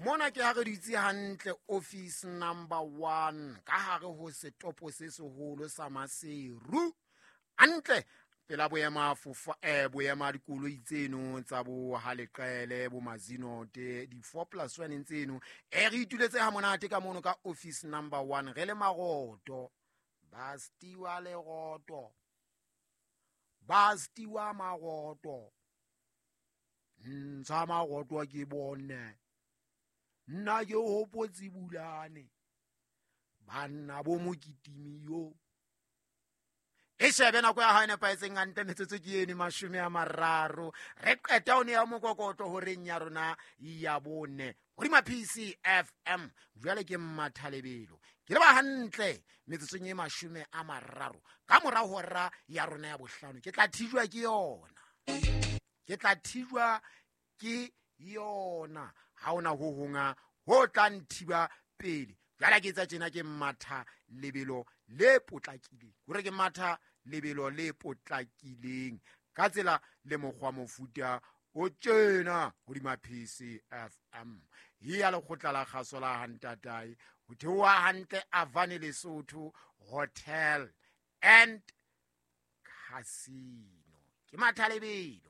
Mona ke ha re dutse hantle office number 1 ka hare ho setopo se seholo sa Maseru, hantle pela boema fofa, boema dikoloi tseno tsa bo Haleqele, bo Mazinote, di 4 plus 1 tseno. Re ituletse ha monate ka mono ka office number 1, re le maroto, ba stiwa leroto, ba stiwa maroto, ntsha maroto ke bone, nna ke hopotse Bulane, banna bo mokitimi yo. E shebe nako ya hao e nepahetseng hantle, metsotso ke eno 30. Re qeta ho nea mokokotlo horeng ya rona ya bone hodima PCFM. Jwale ke mmathalebelo, ke leba hantle metsotsong e 30 ka mora hora ya rona ya bohlano. Ke tla thijwa ke yona, ke tla thijwa ke yona, ha hona ho honga ho tla nthiba pele. Jwale ke etsa tjena, ke matha lebelo le potlakileng, hore ke matha lebelo le potlakileng ka tsela le mokgwa mofuta o tjena hodima PCFM ya lekgotla la kgaso la Hantatae, ho theoha hantle Avane Lesotho Hotel and Casino. Ke matha lebelo.